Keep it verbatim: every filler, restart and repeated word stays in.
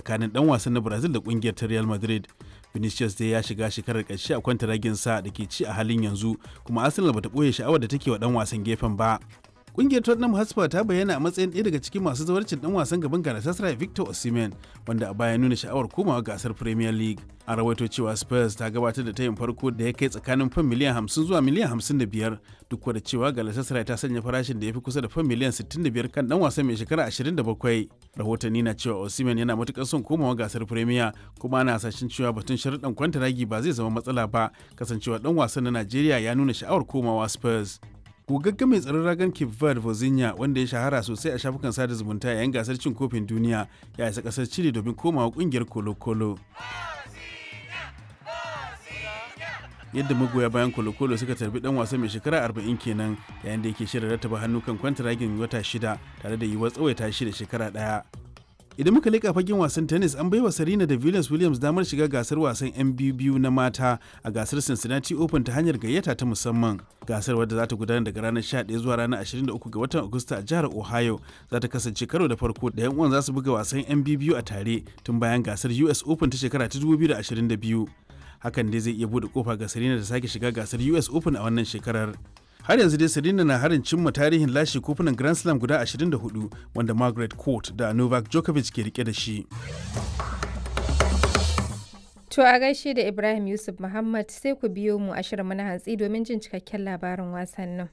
tsakanin dan wasan na Brazil da kungiyar ta Real Madrid. Vinicius dai ya shiga shekarar ƙarshe a kwantaragin sa da ke ci a halin yanzu, kuma Arsenal bata ɓoye sha'awar da take wa dan wasan gefen ba. Kungiyar Tottenham Hotspur ta bayyana a matsayin ɗaya daga cikin masu zawarcin ɗan wasan gaban Galatasaray Victor Osimhen, wanda a baya nuna sha'awar komawa gasar Premier League. A rawaito cewa Spurs ta gabatar da tayin farko da ya kai tsakanin fan miliyan hamsin zuwa miliyan hamsin da biyar, duk da cewa Galatasaray ta sanya farashin da ya fi kusa da fan miliyan sittin da biyar kan ɗan wasan mai shekara ashirin da bakwai. Rahotanni na cewa Osimhen yana matuƙar son komawa gasar Premier, kuma ana hasashen cewa batun sharuɗan kwantaragi ba zai zama matsala ba, kasancewa ɗan wasan na Najeriya ya nuna sha'awar komawa Spurs. Gogagge mai tsaron ragan Cape Verde Vozinha, wanda ya shahara sosai a shafukan sada zumunta yayin gasar cin kofin duniya, ya isa kasar Chile domin komawa kungiyar Colo Colo. Yadda magoya bayan Colo Colo suka tarbi dan wasan mai shekara arba'in kenan yayin da yake shirin rattaba hannu kan kwantaragin wata shida tare da yiwuwar tsawaita shi da shekara daya. Idan muka leƙa fagen wasan tennis, an baiwa Serena da Venus Williams damar shiga gasar wasan yan biyu na mata a gasar Cincinnati Open ta hanyar gayyata ta musamman. Gasar, wadda za ta gudana daga ranar sha ɗaya zuwa ranar ashirin da uku ga watan Agusta a jihar Ohio, za ta kasance karo da farko da yan uwan za su buga wasan yan biyu a tare tun bayan gasar U S Open ta shekara ta dubu biyu da ashirin da biyu. Hakan dai zai iya bude kofa ga Serena da sake shiga gasar U S Open a wannan shekarar. Har yanzu dai Serena na harin cimma tarihin lashe kofunan Grand Slam guda ashirin da huɗu wanda Margaret Court da Novak Djokovic ke rike da shi. To a gaishe da Ibrahim Yusuf Muhammad. Sai ku biyo mu a shirin na hantsi domin jin cikakken labarin wasannin.